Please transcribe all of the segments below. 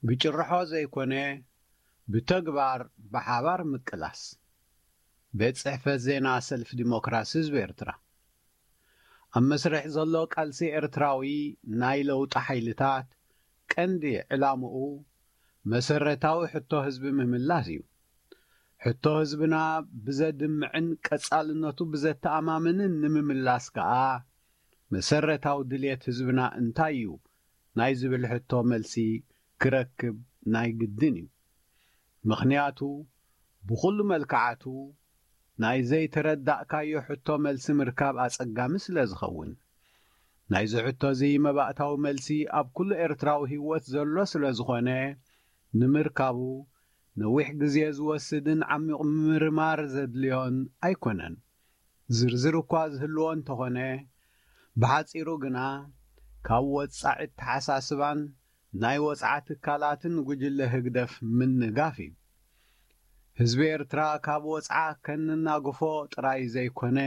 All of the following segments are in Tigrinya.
ብጭርሖ ዘይኮነ ብተግባር ብሓባር ምቅላስ። ቤት ጽሕፈት ዜና ሰልፊ ዲሞክራሲ ህዝቢ ኤርትራ። ኣብ መስርሕ ዘሎ ቃልሲ ኤርትራዊ ናይ ለውጢ ሓይልታት ቀንዲ ዕላምኡ መሰረታዊ ሕቶ ህዝቢ ምምላስ እዩ። ሕቶ ህዝብና ብዘድምዕን ቀጻልነቱ ብዘተኣማምንን ንምምላስ ከኣ መሰረታዊ ድልየት ህዝብና እንታይ እዩ ናይ ዝብል ሕቶ መልሲ ክረክብ ናይ ግድን እዩ። ምኽንያቱ ብኹሉ መልክዓቱ ናይ ዘይተረዳእካዮ ሕቶ መልሲ ምርካብ ኣጸጋሚ ስለ ዝኸውን። ናይዚ ሕቶ እዚ መባእታዊ መልሲ ኣብ ኩሉ ኤርትራዊ ህይወት ዘሎ ስለ ዝኾነ ንምርካቡ ነዊሕ ግዜ ዝወስድን ዓሚቕ ምርማር ዘድልዮን ኣይኮነን። ዝርዝር እኳ ዝህልዎ እንተኾነ ብሓጺሩ ግና ካብ ወጻዒ ኣተሓሳስባን ናይ ወጽዓ ትካላትን ጉጅለ ህግደፍ ምንጋፍ እዩ። ህዝቢ ኤርትራ ካብ ወጽዓ ከንናግፎ ጥራይ ዘይኮነ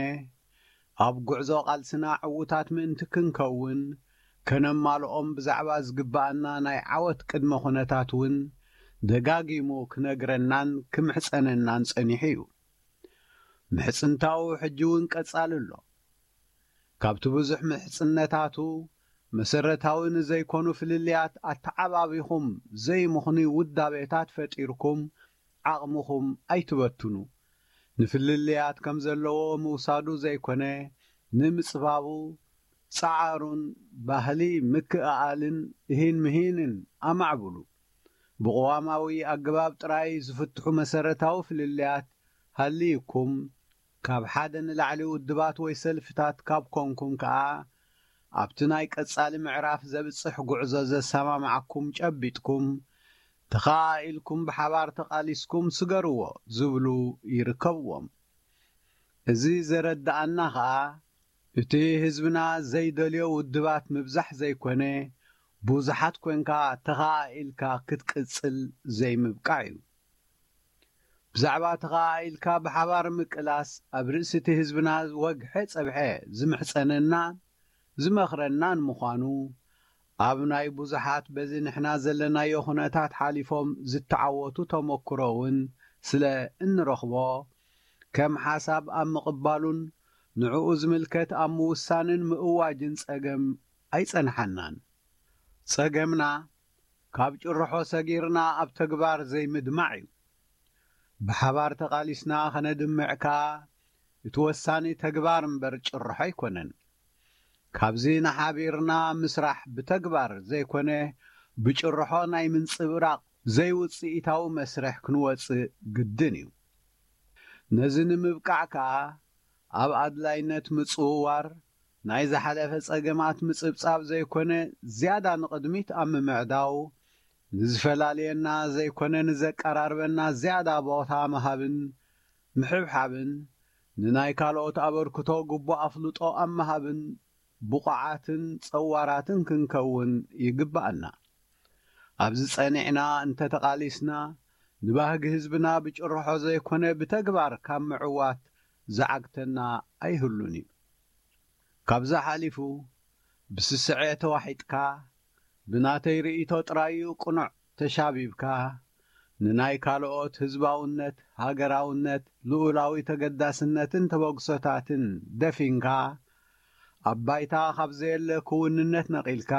ኣብ ጉዕዞ ቃልስና ዕዉታት ምእንቲ ክንከውን ከነማልኦም ብዛዕባ ዝግባኣና ናይ ዓወት ቅድመ ኩነታት እውን ደጋጊሙ ክነግረናን ክምሕጸነናን ጸኒሑ እዩ። ምሕጽንታኡ ሕጂ እውን ቀጻሊ ኣሎ። ካብቲ ብዙሕ ምሕጽነታቱ መሰረታዊ ንዘይኮኑ ፍልልያት ኣተዓባቢኹም ዘይምኽኑይ ውዳቤታት ፈጢርኩም ዓቕምኹም ኣይትበትኑ። ንፍልልያት ከም ዘለዎ ምውሳዱ ዘይኮነ ንምጽባቡ ጸዓሩን ባህሊ ምክእኣልን እሂን ምሂንን ኣማዕብሉ። ብቕዋማዊ ኣገባብ ጥራይ ዝፍትሑ መሰረታዊ ፍልልያት ሃልይኩም ካብ ሓደ ንላዕሊ ውድባት ወይ ሰልፍታት ካብ ኮንኩም ከኣ ኣብቲ ናይ ቀጻሊ ምዕራፍ ዘብጽሕ ጉዕዞ ዘሰማምዓኩም ጨቢጥኩም ተኸኣኢልኩም ብሓባር ተቓሊስኩም ስገርዎ ዝብሉ ይርከብዎም። እዚ ዘረድኣና ከኣ እቲ ህዝብና ዘይደልዮ ውድባት ምብዛሕ ዘይኮነ ብዙሓት ኮንካ ተኸኣኢልካ ክትቅጽል ዘይምብቃዕ እዩ። ብዛዕባ ተኸኣኢልካ ብሓባር ምቅላስ ኣብ ርእሲ እቲ ህዝብና ወግሐ ጸብሐ ዝምሕጸነና ዝመኽረናን ምዃኑ ኣብ ናይ ብዙሓት በዚ ንሕና ዘለናዮ ኩነታት ሓሊፎም ዝተዓወቱ ተመክሮ እውን ስለ እንረኽቦ ከም ሓሳብ ኣብ ምቕባሉን ንዕኡ ዝምልከት ኣብ ምውሳንን ምእዋጅን ጸገም ኣይጸንሓናን። ጸገምና ካብ ጭርሖ ሰጊርና ኣብ ተግባር ዘይምድማዕ እዩ። ብሓባር ተቓሊስና ከነድምዕ ከኣ እቲ ወሳኒ ተግባር እምበር ጭርሖ ኣይኮነን። ካብዚ ንሓቢርና ምስራሕ ብተግባር ዘይኮነ ብጭርሖ ናይ ምንጽብራቕ ዘይውጽኢታዊ መስርሕ ክንወጽእ ግድን እዩ። ነዚ ንምብቃዕ ከኣ ኣብ ኣድላይነት ምጽውዋር ናይ ዝሓለፈ ጸገማት ምጽብጻብ ዘይኮነ ዝያዳ ንቕድሚት ኣብ ምምዕዳው ንዝፈላልየና ዘይኮነ ንዘቀራርበና ዝያዳ ቦታ ምሃብን ምሕብሓብን ንናይ ካልኦት ኣበርክቶ ግቡእ ኣፍልጦ ኣብ ምሃብን ብቑዓትን ጸዋራትን ክንከውን ይግብኣና። ኣብዚ ጸኒዕና እንተተቓሊስና ንባህጊ ህዝብና ብጭርሖ ዘይኮነ ብተግባር ካብ ምዕዋት ዝዓግተና ኣይህሉን እዩ። ካብዚ ሓሊፉ ብስስዐ ተዋሒጥካ ብናተይ ርእይቶ ጥራይ እዩ ቅኑዕ ተሻቢብካ ንናይ ካልኦት ህዝባውነት፣ ሃገራውነት፣ ልኡላዊ ተገዳስነትን ተበግሶታትን ደፊንካ ኣብ ባይታ ካብ ዘየለ ክውንነት ነቒልካ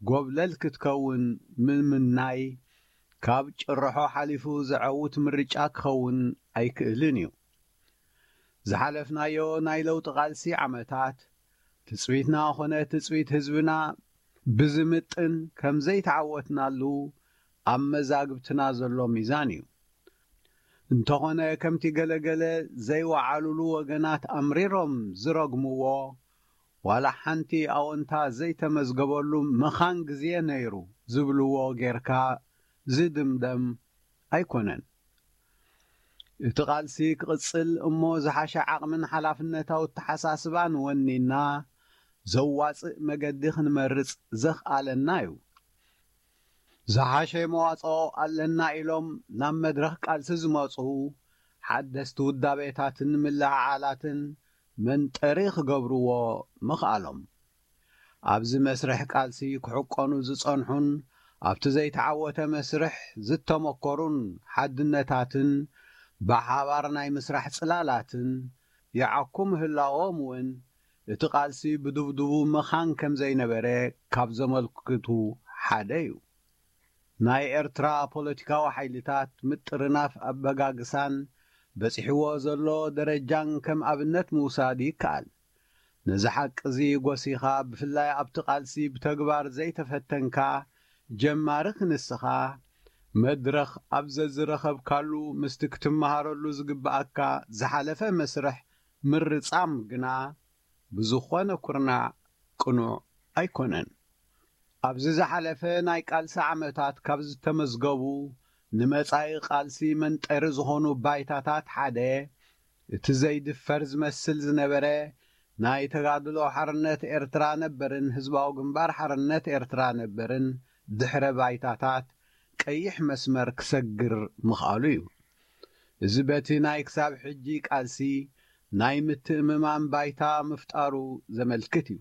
ጎብለል ክትከውን ምምናይ ካብ ጭርሖ ሓሊፉ ዘዐውት ምርጫ ክኸውን ኣይክእልን እዩ። ዝሓለፍናዮ ናይ ለውጢ ቃልሲ ዓመታት ትጽቢትና ኾነ ትጽቢት ህዝብና ብዝምጥን ከም ዘይተዓወትናሉ ኣብ መዛግብትና ዘሎ ሚዛን እዩ። እንተኾነ ከምቲ ገለገለ ዘይወዓሉሉ ወገናት ኣምሪሮም ዝረግምዎ ዋላ ሓንቲ ኣወንታ ዘይተመዝገበሉ መኻን ግዜ ነይሩ ዝብልዎ ጌርካ ዝድምደም ኣይኮነን። እቲ ቃልሲ ክቕጽል እሞ ዝሓሸ ዓቕምን ሓላፍነታዊ ኣተሓሳስባን ወኒና ዘዋጽእ መገዲ ክንመርጽ ዘኽኣለና እዩ። ዝሓሸ መዋጽኦ ኣለና ኢሎም ናብ መድረኽ ቃልሲ ዝመጹ ሓደስቲ ውዳቤታትን ምልዕዓላትን መንጠሪ ክገብርዎ ምኽኣሎም። ኣብዚ መስርሕ ቃልሲ ክሕቆኑ ዝጸንሑን ኣብቲ ዘይተዓወተ መስርሕ ዝተመኮሩን ሓድነታትን ብሓባር ናይ ምስራሕ ጽላላትን ይዓኩ ምህላዎም እውን እቲ ቃልሲ ብድብድቡ መኻን ከም ዘይነበረ ካብ ዘመልክቱ ሓደ እዩ። ናይ ኤርትራ ፖለቲካዊ ሓይልታት ምጥርናፍ ኣበጋግሳን በጺሕዎ ዘሎ ደረጃን ከም ኣብነት ምውሳድ ይከኣል። ነዚ ሓቂ እዚ ጎሲኻ፣ ብፍላይ ኣብቲ ቃልሲ ብተግባር ዘይተፈተንካ ጀማሪ ክንስኻ፣ መድረኽ ኣብ ዘዝረኸብካሉ ምስቲ ክትመሃረሉ ዝግብኣካ ዝሓለፈ መስርሕ ምርጻም ግና ብዝኾነ ኩርናዕ ቅኑዕ ኣይኮነን። ኣብዚ ዝሓለፈ ናይ ቃልሲ ዓመታት ካብ ዝተመዝገቡ ንመጻኢ ቃልሲ መንጠሪ ዝኾኑ ባይታታት ሓደ፣ እቲ ዘይድፈር ዝመስል ዝነበረ ናይ ተጋድሎ ሓርነት ኤርትራ ነበርን ህዝባዊ ግንባር ሓርነት ኤርትራ ነበርን ድሕረ ባይታታት ቀይሕ መስመር ክሰግር ምኽኣሉ እዩ። እዚ በቲ ናይ ክሳብ ሕጂ ቃልሲ ናይ ምትእምማን ባይታ ምፍጣሩ ዘመልክት እዩ።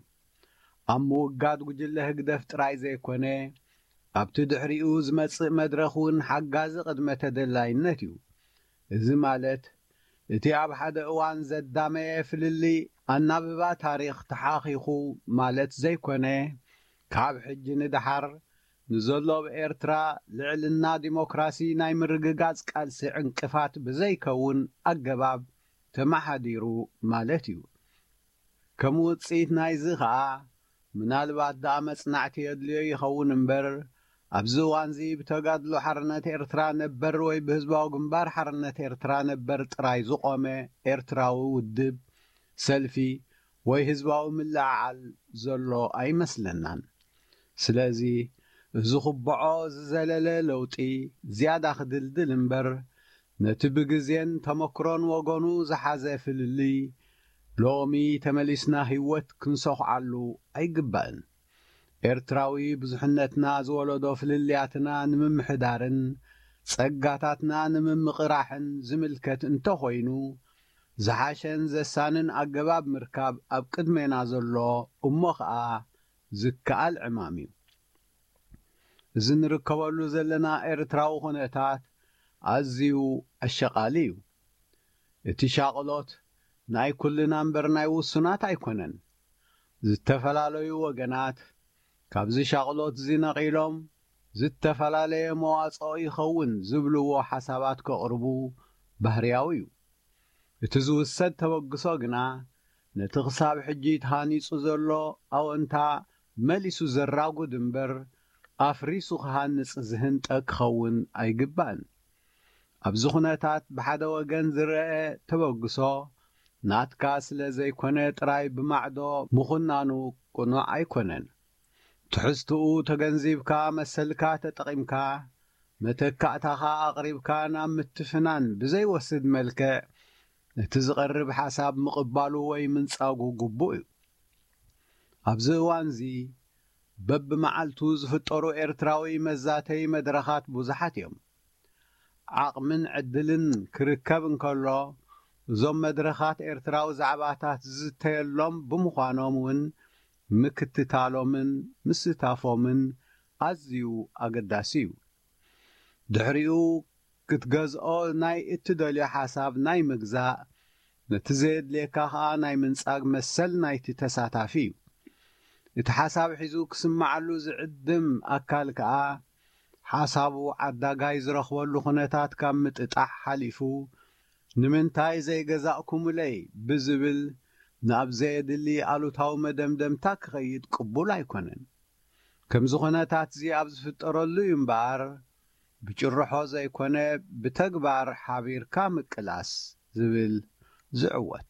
ኣብ ምውጋድ ጉጅለ ህግደፍ ጥራይ ዘይኮነ፣ ኣብቲ ድሕሪኡ ዝመጽእ መድረኽ እውን ሓጋዚ ቅድመ ተደላይነት እዩ። እዚ ማለት፣ እቲ ኣብ ሓደ እዋን ዘዳመየ ፍልልይ ኣናብባ ታሪኽ ተሓኺኹ ማለት ዘይኮነ፣ ካብ ሕጂ ንደሓር ንዘሎ ኣብ ኤርትራ ልዕልና ዲሞክራሲ ናይ ምርግጋጽ ቃልሲ ዕንቅፋት ብዘይከውን ኣገባብ ተመሓዲሩ ማለት እዩ። ከም ውጽኢት ናይዚ ኸኣ፣ ምናልባት ደኣ መጽናዕቲ የድልዮ ይኸውን እምበር፣ ኣብዚ እዋንዚ ብተጋድሎ ሓርነት ኤርትራ ነበር ወይ ብህዝባዊ ግንባር ሓርነት ኤርትራ ነበር ጥራይ ዝቖመ ኤርትራዊ ውድብ፣ ሰልፊ ወይ ህዝባዊ ምልዕዓል ዘሎ ኣይመስለናን። ስለዚ፣ እዚ ክበዖ ዝዘለለ ለውጢ ዝያዳ ክድልድል እምበር፣ ነቲ ብግዜን ተመክሮን ወገኑ ዝሓዘ ፍልልይ ሎሚ ተመሊስና ህይወት ክንሰኹዓሉ ኣይግባእን። ኤርትራዊ ብዙሕነትና ዝወለዶ ፍልልያትና ንምምሕዳርን ጸጋታትና ንምምቕራሕን ዝምልከት እንተኾይኑ፣ ዝሓሸን ዘሳንን ኣገባብ ምርካብ ኣብ ቅድሜና ዘሎ እሞ ኸኣ ዝከኣል ዕማም እዩ። እዚ ንርከበሉ ዘለና ኤርትራዊ ኩነታት ኣዝዩ ኣሸቓሊ እዩ። እቲ ሻቕሎት ናይ ኩልና እምበር ናይ ውሱናት ኣይኮነን። ዝተፈላለዩ ወገናት ካብዚ ሻቕሎት እዚ ነቒሎም ዝተፈላለየ መዋጽኦ ይኸውን ዝብልዎ ሓሳባት ከቕርቡ ባህርያዊ እዩ። እቲ ዝውሰድ ተበግሶ ግና ነቲ ክሳብ ሕጂ ተሃኒጹ ዘሎ ኣወንታ መሊሱ ዘራጉድ እምበር ኣፍሪሱ ክሃንጽ ዝህንጠ ክኸውን ኣይግባእን። ኣብዚ ኩነታት ብሓደ ወገን ዝረአ ተበግሶ ናትካ ስለ ዘይኮነ ጥራይ ብማዕዶ ምኹናኑ ቅኑዕ ኣይኮነን። ትሕዝትኡ ተገንዚብካ መሰልካ ተጠቒምካ መተካእታኻ ኣቕሪብካ ናብ ምትፍናን ብዘይወስድ መልክዕ ነቲ ዝቐርብ ሓሳብ ምቕባሉ ወይ ምንጻጉ ግቡእ እዩ። ኣብዚ እዋንዚ በብመዓልቱ ዝፍጠሩ ኤርትራዊ መዛተዪ መድረኻት ብዙሓት እዮም። ዓቕምን ዕድልን ክርከብ እንከሎ፣ እዞም መድረኻት ኤርትራዊ ዛዕባታት ዝዝተየሎም ብምዃኖም እውን ምክትታሎምን ምስታፎምን ኣዝዩ ኣገዳሲ እዩ። ድሕሪኡ ክትገዝኦ ናይ እትደልዮ ሓሳብ ናይ ምግዛእ፣ ነቲ ዘየድልየካ ኸኣ ናይ ምንጻግ መሰል ናይቲ ተሳታፊ እዩ። እቲ ሓሳብ ሒዙ ክስምዓሉ ዝዕድም ኣካል ከኣ ሓሳቡ ዓዳጋይ ዝረኽበሉ ኩነታት ካብ ምጥጣሕ ሓሊፉ፣ "ንምንታይ ዘይገዛእኩምለይ?" ብዝብል ናብ ዘየድሊ ኣሉታዊ መደምደምታ ክኸይድ ቅቡል ኣይኮነን። ከምዚ ኩነታት እዚ ኣብ ዝፍጠረሉ እዩ እምበኣር፣ ብጭርሖ ዘይኮነ ብተግባር ሓቢርካ ምቅላስ ዝብል ዝዕወት።